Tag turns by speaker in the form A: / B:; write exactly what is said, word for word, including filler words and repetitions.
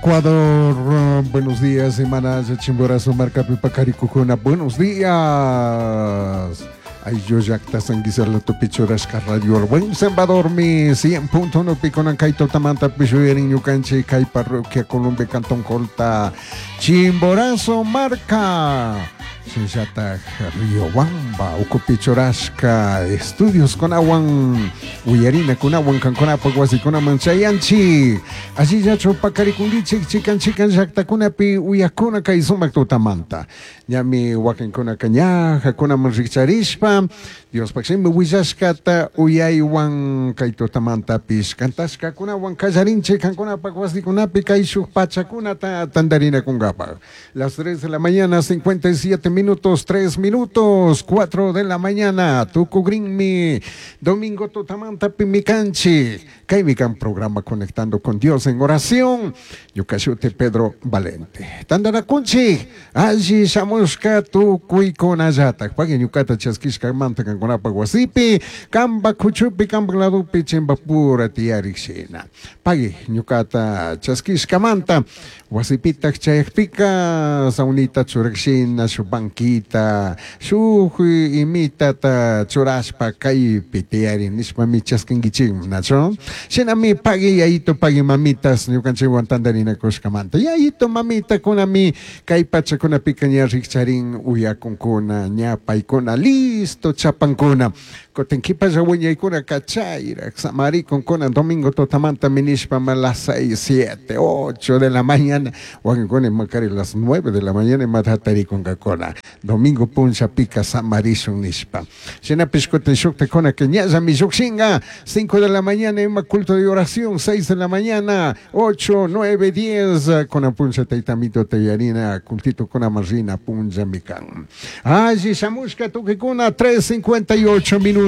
A: Ecuador. Buenos días, hermanas Chimborazo, Marcapi, Pacaricujuna. Buenos días. Ayllu llakta San Guisarlo Tupichurashka Radio El Buen Salvador mi cien punto uno piconan kay tutamanta pishuyarin ñukanchik kay parroquia Colombia Cantón Colta Chimborazo marca Shinllatak Riobamba Ucupichurashka estudios kunawan uyarina kunawan kankunapak wasikunaman chayanchik allillachu pakarikunkichik chikan chikan llaktakunapi uyakuna kay sumak tutamanta ñami wakinkunaka ñaja kunaman rikcharishpa Diospaq shimi willashkata uyaywan kay tutamantapish kantashkakunawan kallarinchik kankunapak wasikunapi kay shuk pachakunata tantarinakunkapaq. Las tres de la mañana, cincuenta y siete minutos, tres minutos, cuatro de la mañana, tukugrinmi, domingo tutamantapi mikanchik, kaymi kan programa Conectando con Dios en Oración, ñukashuti Pedro Valente. Tantanakunchik, alli shamushka tukuykunallatak, pagui ñukata chaskishkamanta kankunapak wasipi, kamba kuchupi, kamba ladupi, chimbapura tiyarik shina. Pagui ñukata chaskishkamanta, wasipitak chayakpika, saunita churak shina, shuk banquita, shuk imitata churashpa kaypi tiyari nishpami chaskinkichik, nacho? Shinami pagui yayito, pagui mamitas, ñukanchikwan tantarinakushkamanta. Yayito, mamita, kunami, kay pachakunapika ña rikcharin uyakunkuna, ña paykuna, listo chapankuna. Kutin kipalla wiñaykuna kachayrak, samarikunkuna, domingo tutamanta minishpa ma las seis, siete, ocho de la mañana, wakinkuna imakari las nueve de la mañana imatatarikunkakuna. Domingo puncha pica samarishun nishpa. Shinapish kutin shuktakuna que ñallami llukshinka, cinco de la mañana ima culto de oración, seis de la mañana, ocho, nueve, diez, kuna puncha taytamito tayarina, cultito kuna marrina puncha mikan. Alli shamushka tukikuna, tres cincuenta y ocho minutos.